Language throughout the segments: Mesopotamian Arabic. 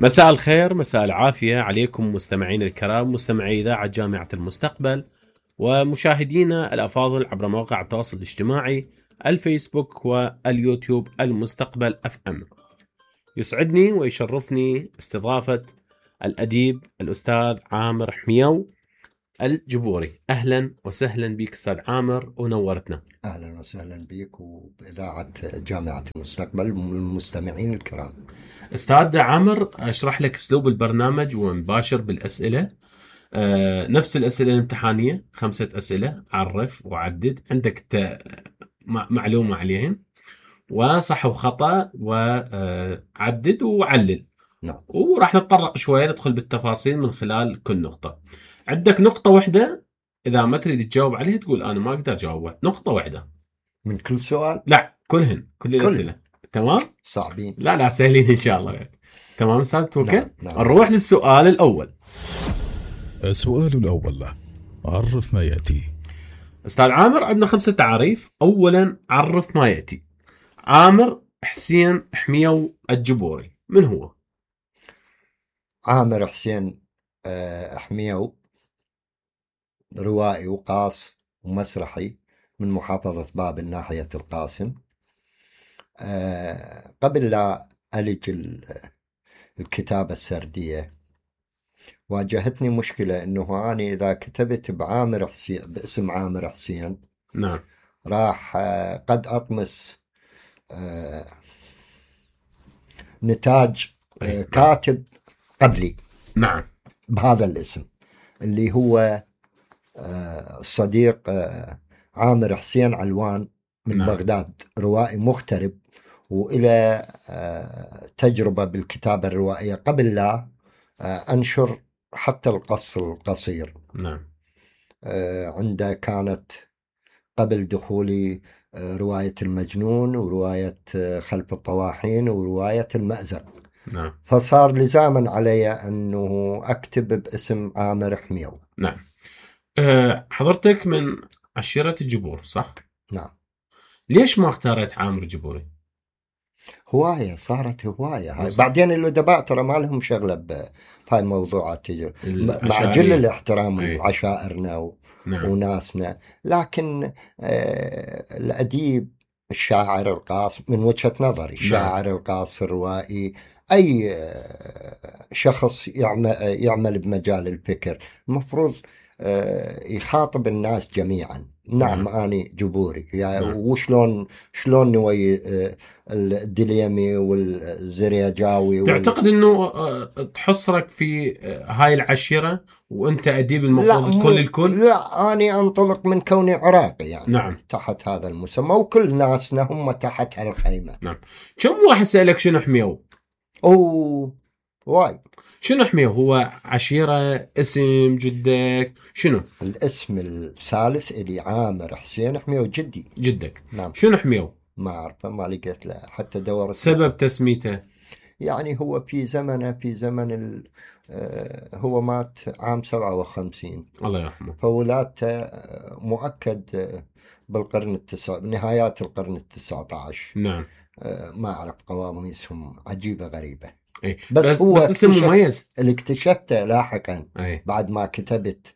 مساء الخير، مساء العافية عليكم مستمعين الكرام، مستمعي إذاعة جامعة المستقبل ومشاهدينا الأفاضل عبر مواقع التواصل الاجتماعي الفيسبوك واليوتيوب المستقبل FM. يسعدني ويشرفني استضافة الأديب الأستاذ عامر حميو الجبوري. أهلا وسهلا بك أستاذ عامر ونورتنا. أهلا وسهلا بك وبإذاعة جامعة المستقبل والمستمعين الكرام. أستاذ عامر، أشرح لك أسلوب البرنامج ونباشر بالأسئلة. نفس الأسئلة الامتحانية، 5 أسئلة، عرف وعدد، عندك معلومة عليهم وصح وخطأ وعدد وعلل. نعم. وراح نتطرق شوية، ندخل بالتفاصيل من خلال كل نقطة. عندك نقطة واحدة إذا ما تريد تجاوب عليها تقول أنا ما أقدر أجاوبها، نقطة واحدة من كل سؤال؟ لا، كل الأسئلة. تمام؟ صعبين؟ لا سهلين إن شاء الله. تمام أستاذ توكل؟ نعم. نروح للسؤال الأول. السؤال الأول، عرف ما يأتي. أستاذ عامر، عندنا 5 تعاريف. أولا، عرف ما يأتي. عامر حسين حميو الجبوري من هو؟ عامر حسين حميو روائي وقاص ومسرحي من محافظة بابل ناحية القاسم. قبل لا ألج الكتابة السردية واجهتني مشكلة إنه أنا إذا كتبت بعامر حسين باسم عامر حسين، نعم، راح قد أطمس نتاج كاتب قبلي، نعم، بهذا الاسم اللي هو الصديق عامر حسين علوان من نعم. بغداد، روائي مغترب وإلى تجربة بالكتابة الروائية قبل لا أنشر حتى القص القصير. نعم. عنده كانت قبل دخولي رواية المجنون ورواية خلف الطواحين ورواية المأزق. نعم. فصار لزاما علي أنه أكتب باسم عامر حميو. نعم. حضرتك من عشيرة الجبور صح؟ نعم. ليش ما اختارت عامر جبوري؟ هواية، صارت هواية. بعدين الأدباء ترى ما لهم شغلة بهاي الموضوعات، مع جل الاحترام لعشائرنا نعم. وناسنا، لكن الأديب الشاعر القاص من وجهة نظري، الشاعر نعم. القاص الروائي، أي شخص يعمل بمجال الفكر المفروض يخاطب الناس جميعا. نعم. أنا جبوري يعني. نعم. وشلون نوي الدليمي والزرياجاوي تعتقد انه تحصرك في هاي العشيرة وانت اديب المفروض تكون للكل؟ لا، أنا انطلق من كوني عراقي يعني. نعم. تحت هذا المسمى وكل ناسنا هم تحت هالخيمة. نعم. كم واحد سألك شنو حميو؟ واي. شنو حميو؟ هو عشيرة، اسم جدك، شنو؟ الاسم الثالث اللي عامر حسين حميو جدك. نعم. شنو حميو؟ ما أعرفه، ما لقيت له حتى دورت. سبب تسميته؟ يعني هو في زمن هو مات عام 57، الله يرحمه، فولادته مؤكد بالقرن نهايات القرن 19. نعم. ما أعرف، قواميسهم عجيبة غريبة. أي. بس هو بس اسم مميز اللي اكتشفته لاحقا. أي. بعد ما كتبت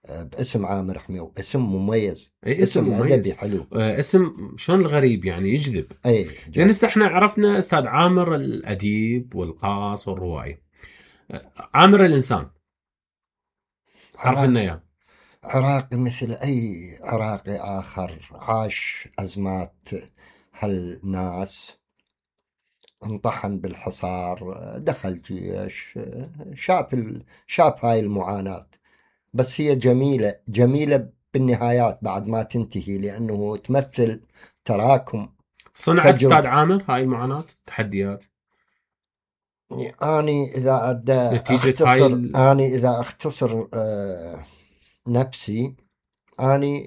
باسم عامر حميو، اسم مميز. أي اسم مميز، أدبي حلو. اسم شلون الغريب يعني يجذب. أي زين، هسه احنا عرفنا استاذ عامر الاديب والقاص والروائي. عامر الانسان عرفنا اياه. عراقي مثل أي عراقي آخر، عاش أزمات هالناس، انطحن بالحصار، دخل جيش، شاف هاي المعاناة. بس هي جميلة بالنهايات بعد ما تنتهي، لأنه تمثل تراكم صنعت استاذ عامر هاي المعاناة، تحديات. أنا إذا أختصر نفسي، أنا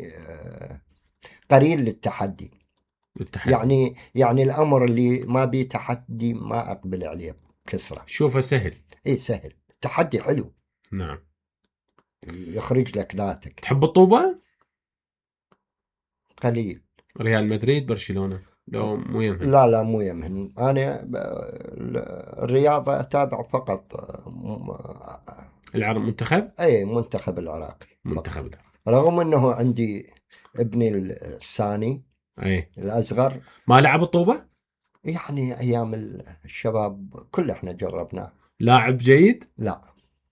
قليل للتحدي. يعني الأمر اللي ما بيه تحدي ما أقبل عليه بكثرة. شوفه سهل. سهل. التحدي حلو. نعم. يخرج لك ذاتك. تحب الطوبة؟ قليل. ريال مدريد، برشلونة؟ لو مو يمهن؟ لا مو يمهن. أنا الرياضة أتابع فقط منتخب؟ أي منتخب العراقي. منتخب. رغم أنه عندي ابني الثاني أي الأصغر ما لعب الطوبة؟ يعني أيام الشباب كل إحنا جربناه. لاعب جيد؟ لا.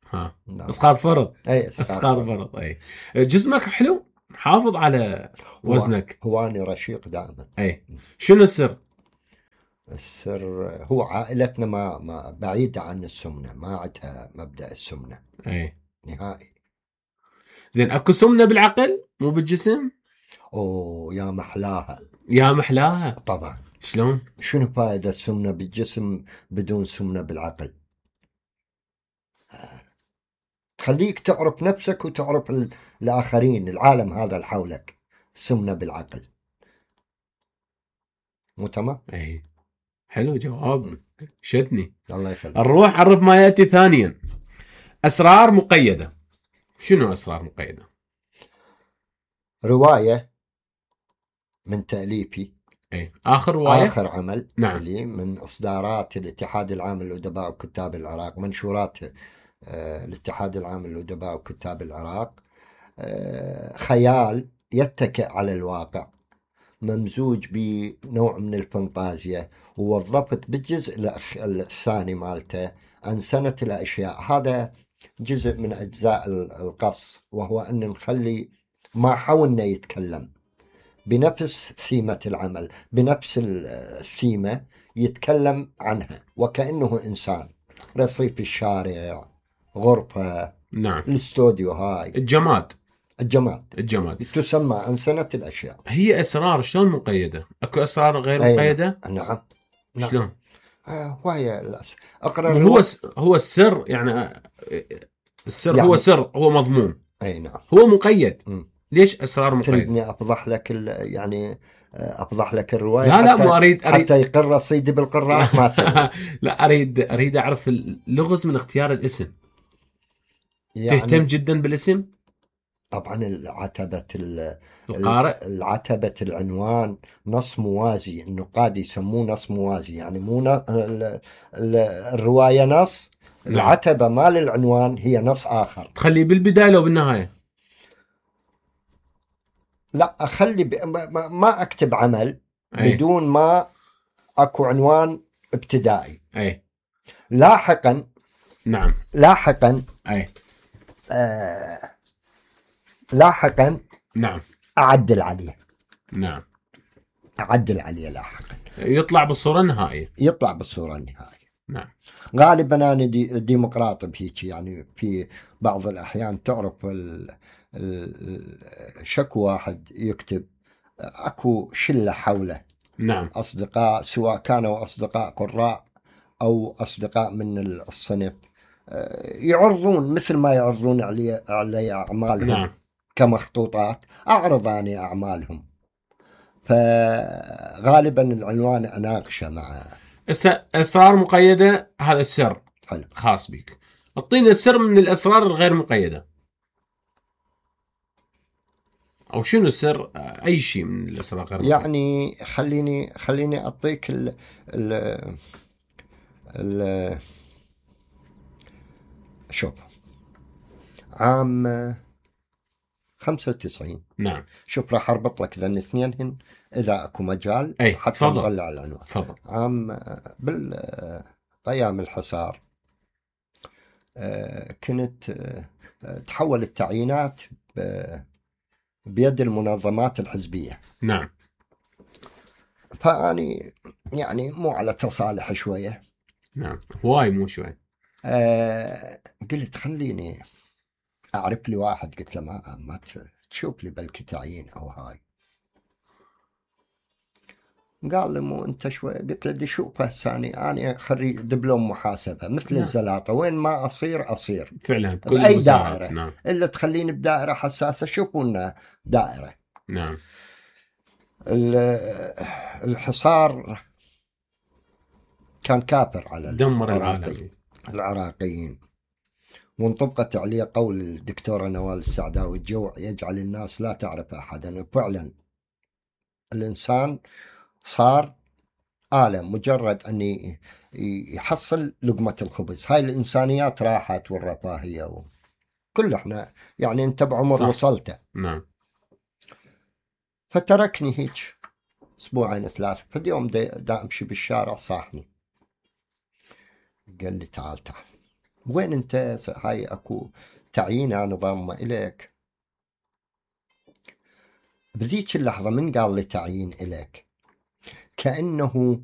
ها لا. اسقاط فرض. أي اسقاط فرض. أي جسمك حلو، حافظ على وزنك. هو أنا رشيق دائما. أي شنو السر؟ السر هو عائلتنا ما بعيدة عن السمنة، ما عندها مبدأ السمنة. أي نهائي. زين اكو سمنة بالعقل مو بالجسم؟ اوه يا محلاها. يا محلاها. طبعا. شلون؟ شنو فائدة السمنة بالجسم بدون سمنة بالعقل؟ تخليك تعرف نفسك وتعرف الآخرين، العالم هذا اللي حولك. السمنة بالعقل. مو تمام؟ اي حلو جواب، شدني. الله يخليك. نروح عرف ما ياتي ثانيا. اسرار مقيدة. شنو اسرار مقيدة؟ رواية من تأليفي. اي اخر رواية، آخر عمل. نعم. لي من إصدارات الاتحاد العام للأدباء وكتاب العراق، منشورات الاتحاد العام للأدباء وكتاب العراق. خيال يتكئ على الواقع، ممزوج بنوع من الفانتازيا، ووظفت بالجزء الثاني مالته عن سنة الأشياء. هذا جزء من أجزاء القص، وهو أن نخلي ما حاولنا يتكلم بنفس ثيمة العمل، بنفس الثيمة يتكلم عنها وكأنه إنسان. رصيف الشارع، غرفة، نعم، الاستوديو، هاي الجماد تسمى عن سنة الأشياء. هي أسرار شلون مقيدة؟ أكو أسرار غير مقيدة؟ نعم. شلون؟ وهي أقرأ. هو السر يعني، السر يعني هو سر، هو مضمون. أي نعم. هو مقيد. ليش أسرار مقيدة؟ تريدني أفضح لك يعني أفضح لك الرواية؟ لا مو أريد حتى يقر رصيدي بالقراء ما سوي. لا أريد أعرف اللغز من اختيار الاسم. يعني تهتم جدا بالاسم؟ طبعا العتبة القارئ، العتبة العنوان نص موازي، النقاد يسموه نص موازي، يعني مو الرواية نص، العتبة مال العنوان هي نص آخر. تخليه بالبداية لو بالنهاية؟ لا أخلي ما أكتب عمل بدون ما أكو عنوان ابتدائي. لاحقا. نعم. لاحقا. لاحقا. نعم. أعدل عليه. نعم. أعدل عليه لاحقا. يطلع بالصورة النهائية. نعم. غالبا أنا ديمقراطي بهيك، يعني في بعض الأحيان تعرف شكو واحد يكتب أكو شلة حوله. نعم. أصدقاء، سواء كانوا أصدقاء قراء أو أصدقاء من الصنف، يعرضون مثل ما يعرضون علي أعمالهم. نعم. كمخطوطات أعرض أنا أعمالهم، فغالبا العنوان أناقشه مع أسرار مقيدة. هذا السر حلو. خاص بك. اعطينا السر من الأسرار الغير مقيدة، أو شنو السر؟ أي شيء من الأسرار غير مقيدة. يعني خليني أعطيك شوف، عام 95. نعم. شوف راح أربط لك لأن اثنينهن إذا أكو مجال حتى نطلع العنوان. تفضل. عام أيام الحصار كنت تحول التعيينات بيد المنظمات الحزبية. نعم. فأني يعني مو على تصالح شوية. نعم. هواي مو شوي. قلت خليني أعرف لي واحد. قلت له ما تشوف لي بلكي تعيين أو هاي. قال لي مو أنت شوي. قلت له دي شوفه الثاني، أنا خريج دبلوم محاسبة مثل الزلاطة، وين ما أصير فعلا بأي دائرة. نعم. إلا تخليني بدائرة حساسة شوفونا دائرة. نعم. الحصار كان كافر على دمر العراقيين، وانطبقت عليه قول الدكتورة نوال السعداوي: الجوع يجعل الناس لا تعرف أحدا. فعلا الإنسان صار آلة، مجرد أن يحصل لقمة الخبز. هاي الإنسانيات راحت والرفاهية كل احنا يعني انت بعمر صح. وصلته. نعم. فتركني هيك اسبوعين 3. فدي يوم دا امشي بالشارع صاحني قال لي تعال وين انت؟ هاي اكو تعيين انا ضامه اليك. بذيك اللحظة من قال لي تعيين اليك كأنه